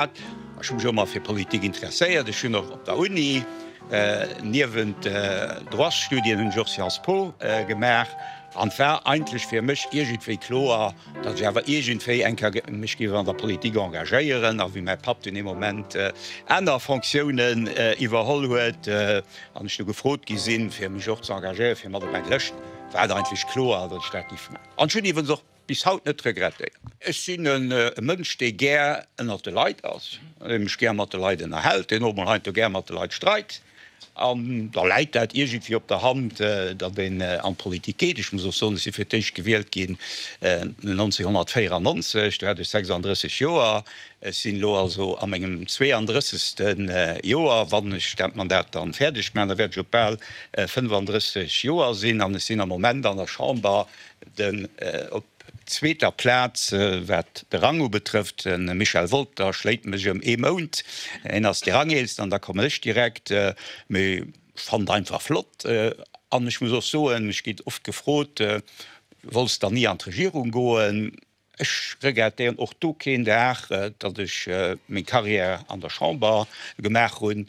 Ech hu mech ëmmer fir Politik interesséiert. Ech hunn och op der Uni niewent Droitsstudien hunn ech och Sciences Po gemaach. An et war eigentlech fir mech iergendwéi kloer, datt ech awer iergendwéi eng Kéier mech géif an der Politik engagéieren. A wéi mäi Papp dunn ee Moment aner Fonctiounen iwwerholl huet an ech du gefrot gi sinn, fir mech och ze engagéieren, fir mat op eng Lëscht, war et eigentlech kloer, datt ech dat géif maachen. An ech hunn iwwens och bis haut net regrettéiert. Ech sinn e Mënsch, dee gär ënnert de Leit ass, dee mech gär mat de Leit ënnerhält, deen och mol heiansdo gär mat de Leit streit. An da läit dat iergendwéi op der Hand, datt een an d'Politik geet. Ech muss och soen, ech si fir d'éischt gewielt ginn 1994, do hat ech 36 Joer. Ech sinn elo also a mengem 32. Joer. Wann ech dat Mandat dann fäerdeg maachen, da wäert ech op bal 35 Joer sinn. An ech sinn am Moment an der Chamber den op zweeter Plaz, wat de Rang ubetrëfft. De Michel Wolter schléit mech ëm ee Mount. Hien ass de Rangeelsten an da kommen ech direkt. Mee ech fannen et einfach flott. An ech muss och soen, ech ginn oft gefrot, Wolls dann ni an d'Regierung goen? Ech regrettéieren och do keen Dag, datt ech meng Carrière an der Chamber gemaach hunn.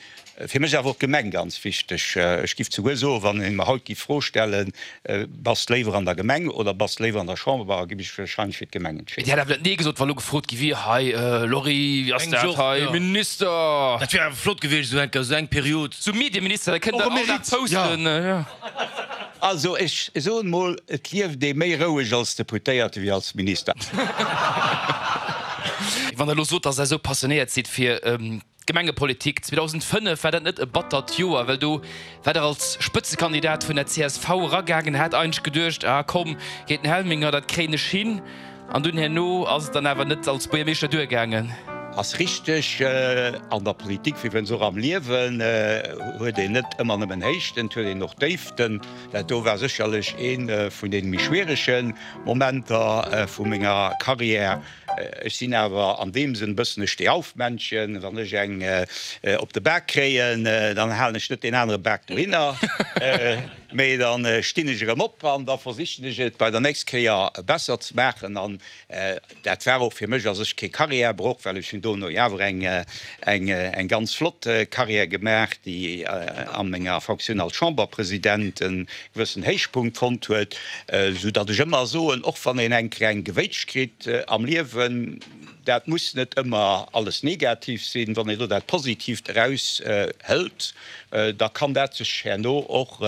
Fir mech ass awer och d'Gemeng ganz wichteg. Ech giff souguer soen, wann ee mer haut giff d'Fro stellen, Bass de léiwer an der Gemeng oder bass de léiwer an der Chamber, giff ech wahrscheinlech fir d'Gemeng Mee entscheeden. Dir hätt awer net Nee gesot, wa lo gefrot gi wier, Hei Lory, wéi ass dat hei, Minister? Dat wier awer flott gewiescht, esou eng Kéier, esou eng Period. Sou Medieminister, da kënnt Der all Dag posten, jo. Also ech soen mol, et lieft ee méi roueg als Deputéierte wéi als Minister. Wann Der elo sot, dass Der esou passionéiert sidd fir d'Gemengepolitik, 2005 war dat net e battert Joer, well do war Der als Spëtzekandidat vun der csv eragaangen, hat eigentlech geduecht, ah komm, géint den Helminger, dat kréien ech hin. An dunn herno ass et dann awer net als Buergermeeschter duergaangen. Ass richteg, an der Politik wéi wënns och am Liewen huet een net ëmmer nëmmen Héichten, et huet een och Déiften. Dat do war sécherlech ee vun deene méi schwierege Momenter vu menger Carrière. Ech sinn awer an deem Sënn e bëssen e Stehaufmännchen, wann ech eng op de Bak kréien, dann halen ech net deen anere Bak dohinner. Mee dann stinn ech erëm op an da versichen ech et bei der nächst Kéier besser ze maachen. An dat war och fir mech a sech kee Karriärbroch, well ech hunn dono jo awer eng eng ganz flott Karriär gemaach, déi a menger Fonctioun als Chamberpresident e gewëssen Héichpunkt fonnt huet, sou datt ech ëmmer soen, och wann een eng kleng Gewéitsch kritt am Liewen, dat muss net ëmmer alles negativ sinn, wann een do dat Positiivt eraushëlt. da kann dat sech herno och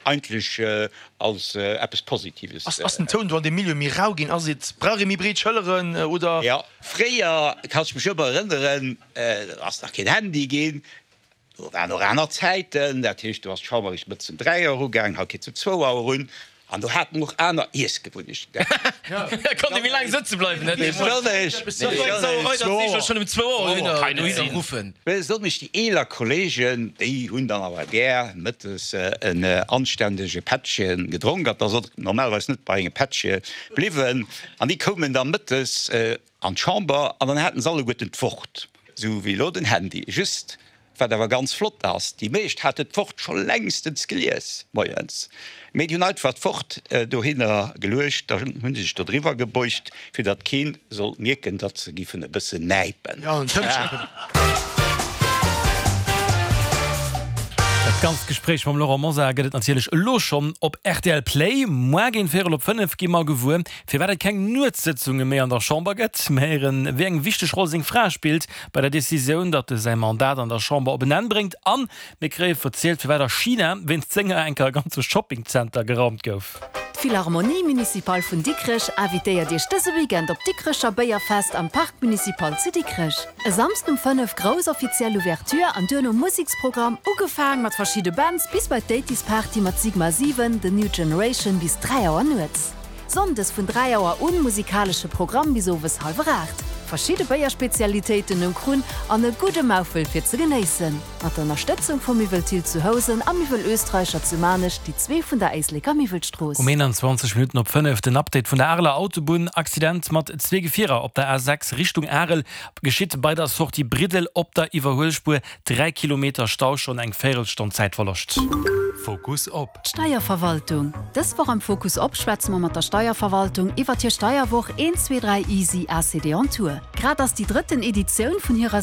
eigentlech als eppes Positives. Ass den Toun do an deem Milieu méi rau ginn? Ass et, brauch ee méi breet Schëlleren oder? Jo, fréier, kann ech mech ëmmer erënneren, do ass nach keen Handy ginn, do waren och aner Zäiten, dat heescht, do ass d'Chamber eréischt mëttes um 3 Auer ugaangen, haut geet se um zwou Auer un. An do hat en och aner Iessgewunnechten. Da konnt ee méi laang sëtze bleiwen. Besonnesch déi eeler Kollegen, déi hunn dann awer gär mëttes en anständege Pättche gedronk. An et ass och normalerweis net bei engem Pättche bliwwen. An déi koumen da mëttes an d'Chamber an dann haten se alleguerten d'Wort, esou wéi elo den Handy. Just Wat awer ganz flott ass, déi meescht haten d'Wort scho längstens gelies moies, mee déi hunn einfach d'Wort dohinner geluecht, da hu se sech do driwwer gebeugt, fir datt keen sollt mierken, datt se giffen e bëssen näipen. Dat ganzt Gespréich mam Laurent Mosar gëtt et natierlech elo schonn op rtl Play. Moar géint véierel op 5 gi mer gewuer, firwat et keng Nuetssëtzunge méi an der Chamber gëtt. Mir héieren, wéi eng wichteg Roll seng Fra spillt bei der Decisioun, datt e säi Mandat an der Chamber op en Enn bréngt an mir kréie verzielt, firwat a China wéinst senger enker e ganze Shoppingzenter geraumt gouf. D'Philharmonie Municipale vun Dikrech invitéiert Iech dëse Weekend op d'Dikrecher Béierfest am Parc Municipal zu Dikrech. E Samsden um 5 grouss offiziell Ouverture an duerno Museksprogramm, ugefaang mat verschidde Bands bis bei d'Eighties Party mat Sigma 7, The New Generation bis 3 Auer nuets. Sonndes vun 3 Auer un musikalesche Programm bis owes halwer 8. Verschidde Béierspezialitéiten um Krunn an e gudde Maufel fir ze genéissen. Mat der Ënnerstëtzung vu Miwwel Thill zu Housen a Miwwel Oestreicher zu Maarnech, déi zwee vun der Éisleker Miwwelstrooss. Um 21 Minutten op 5 den Update vun der Areler Autobunn. Accident mat zwee Gefierer op der A6 Richtung Arel geschitt bei der Sortie Briddel op der Iwwerhuelspuer. 3 Kilometer Stau, schonn eng Véierelstonn Zäitverloscht. Fokus op. D'Steierverwaltung. Dës Woch am Fokus op schwätze mer mat der Steierverwaltung iwwert hir Steierwoch 1, 2, 3 Easy ACD on Tour. Grad ass déi drëtten Editioun vun hirer.